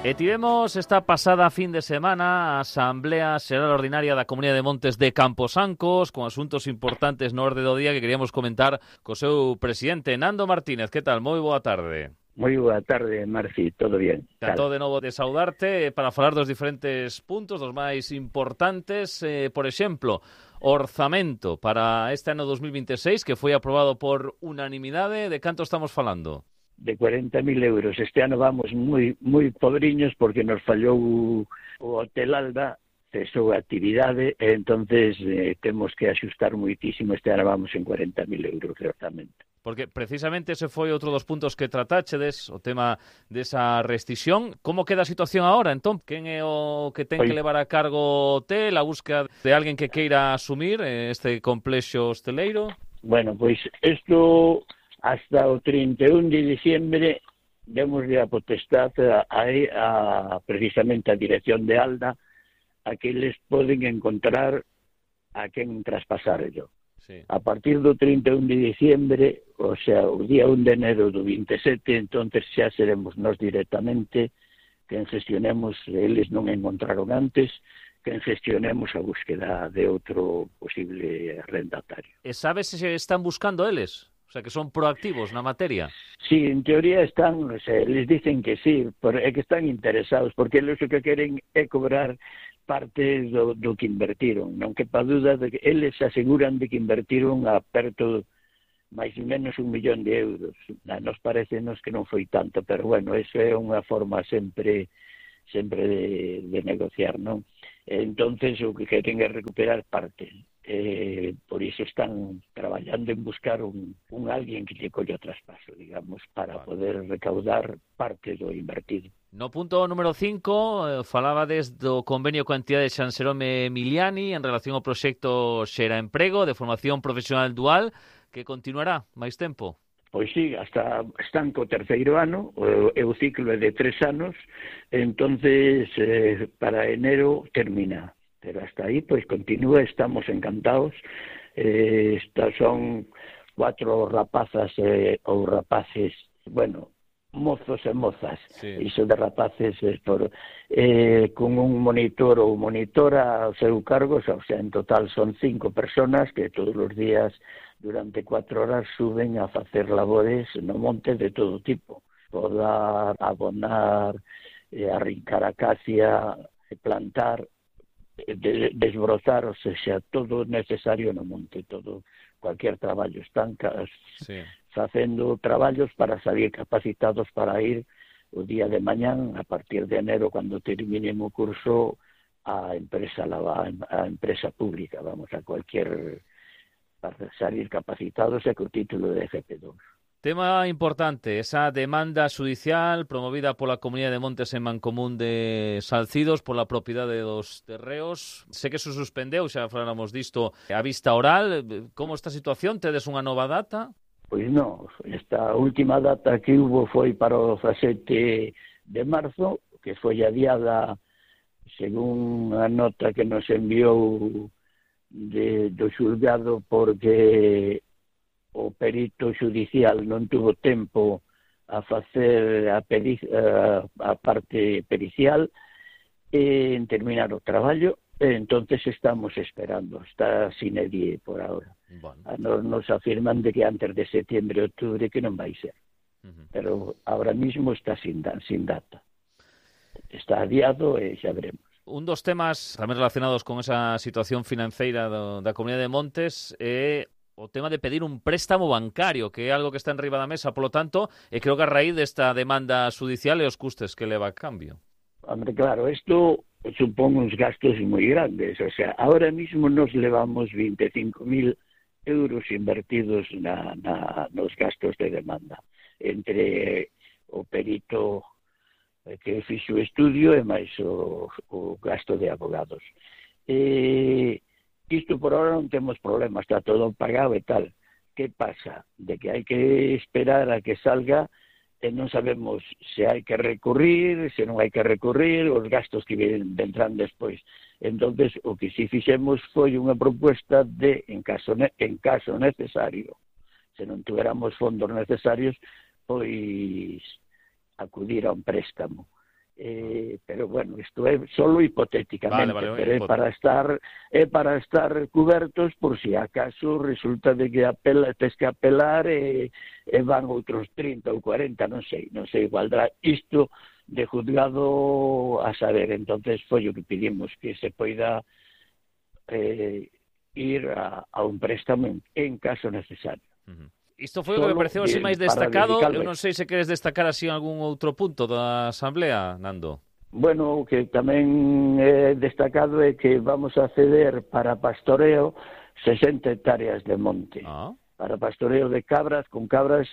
E tivemos esta pasada fin de semana a Asamblea Xeral Ordinaria da Comunidade de Montes de Camposancos con asuntos importantes no orde do día que queríamos comentar co seu presidente, Nando Martínez. Que tal? Moi boa tarde. Moi boa tarde, Marci, todo bien. Encantado de novo de saudarte para falar dos diferentes puntos, dos máis importantes, por exemplo, orzamento para este ano 2026 que foi aprobado por unanimidade. De canto estamos falando? De 40.000 euros. Este ano vamos moi pobriños porque nos fallou o Hotel Alba, cesou a actividade, e entonces temos que axustar moitísimo. Este ano vamos en 40.000 euros de orzamento. Porque precisamente ese foi outro dos puntos que tratáchedes, o tema desa restricción. Como queda a situación agora, entón? Quen é o que ten que levar a cargo o hotel, a búsqueda de alguén que queira asumir este complexo hosteleiro? Bueno, pois isto hasta o 31 de diciembre demoslle a potestade a precisamente a dirección de Alda a que les poden encontrar a quen traspasarlo. Sí. A partir do 31 de diciembre, o sea, o día 1 de enero do 27, entonces xa seremos nós directamente quen gestionemos, eles non encontraron antes, quen gestionemos a búsqueda de outro posible arrendatario. E sabes se están buscando eles? O sea, que son proactivos na materia. Sí, en teoría están, o sea, les dicen que sí, pero é que están interesados, porque eles o que queren é cobrar parte do que invertiron. Non quepa duda de que eles aseguran de que invertiron a perto máis ou menos 1 millón de euros. Nos parecenos que non foi tanto, pero bueno, eso é unha forma sempre de negociar, non? Entonces o que queren é recuperar parte. Por iso están traballando en buscar un alguén que lle colla o traspaso, digamos, para poder recaudar parte do invertido. No punto número 5, falabades do convenio coa entidade de San Xerome Emiliani en relación ao proxecto Xera Emprego de formación profesional dual, que continuará máis tempo. Pois sí, hasta están co terceiro ano, o ciclo é de 3 anos, entonces para enero termina. Pero hasta aí, pois continúa, estamos encantados. Estas son 4 rapazas ou rapaces, bueno, mozos e mozas. Sí. Iso de rapaces con un monitor ou monitora ao seu cargo, o sea, en total son 5 personas que todos os días durante 4 horas suben a facer labores no monte de todo tipo. Podar, abonar, arrincar a acacia, plantar, desbrozar, o sea, todo necesario no monte, todo, cualquier traballo. Están facendo traballos para salir capacitados para ir o día de mañán, a partir de enero, cando terminen o curso, a empresa pública, vamos, a cualquier, para salir capacitados e co título de FP2. Tema importante, esa demanda judicial promovida pola Comunidade de Montes en Mancomún de Salcidos pola propiedade dos terreos. Sé que se suspendeu, xa faláramos disto, a vista oral. Como está a situación? Tedes unha nova data? Pois non, esta última data que hubo foi para o 17 de marzo, que foi adiada según a nota que nos enviou do xulgado, porque o perito judicial non tuvo tempo a facer a parte pericial en terminar o traballo, e entonces estamos esperando, está sine die por ahora. Bueno. Nos afirman de que antes de setembro e outubro que non vai ser. Pero ahora mismo está sin data. Está adiado e xa veremos. Un dos temas tamén relacionados con esa situación financeira da Comunidade de Montes é o tema de pedir un préstamo bancario, que é algo que está en riba da mesa, polo tanto, e creo que a raíz desta demanda judicial e os custes que leva a cambio. Hombre, claro, isto supón uns gastos moi grandes, o sea, ahora mismo nos levamos 25.000 euros invertidos nos gastos de demanda, entre o perito que fixo o estudio e máis o gasto de abogados. Isto por ahora non temos problema, está todo pagado e tal. Que pasa? De que hai que esperar a que salga e non sabemos se hai que recurrir, se non hai que recurrir, os gastos que vendrán despois. Entonces, o que si fixemos foi unha proposta de, en caso necesario, se non tuveramos fondos necesarios, pois acudir a un préstamo. Pero bueno, isto é solo hipotéticamente, pero é para estar cubertos por si acaso resulta de que tes que apelar e van outros 30 ou 40, non sei, valdrá isto de juzgado a saber. Entonces foi o que pedimos, que se poida ir a un préstamo en caso necesario. Isto foi o que me pareceu así máis destacado. Eu non sei se queres destacar así algún outro punto da Asamblea, Nando. Bueno, o que tamén é destacado é que vamos a ceder para pastoreo 60 hectáreas de monte. Para pastoreo de cabras, con cabras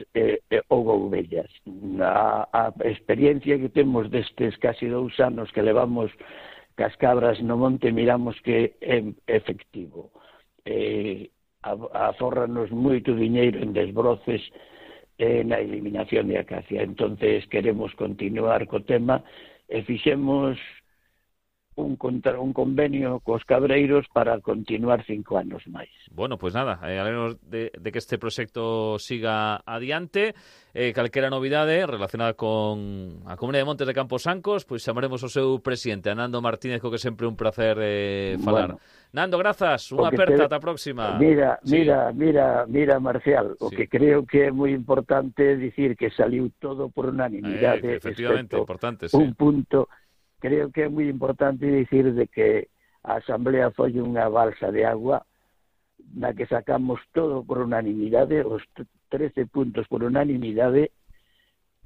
ou ovellas. A experiencia que temos destes casi 2 anos que levamos cas cabras no monte, miramos que é efectivo. Afórranos moito diñeiro en desbroces na eliminación de acacia. Entonces queremos continuar co tema e fixemos un convenio cos cabreiros para continuar 5 anos máis. Bueno, pues nada, alegramos de que este proxecto siga adiante. Calquera novidade relacionada con a Comunidade de Montes de Camposancos, pois chamaremos o seu presidente, a Nando Martínez, co que sempre un placer falar. Bueno, Nando, grazas, unha aperta, ata a próxima. Mira, Marcial, o que creo que é moi importante dicir que saliu todo por unanimidade. Efectivamente, importante, sí. Un punto. Creo que é moi importante dicir de que a Asamblea foi unha balsa de agua na que sacamos todo por unanimidade, os 13 puntos por unanimidade,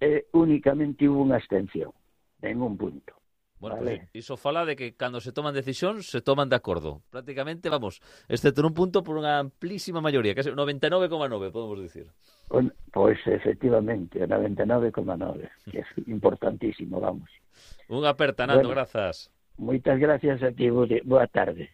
e únicamente hubo unha abstención, en un punto. Bueno, vale. Pues iso fala de que cando se toman decisións, se toman de acordo. Prácticamente, vamos, excepto un punto por unha amplísima maioría, que é 99,9, podemos dicir. Pois, efectivamente, 99,9, que é importantísimo, vamos. Unha aperta, Nando, grazas. Moitas gracias a ti, boa tarde.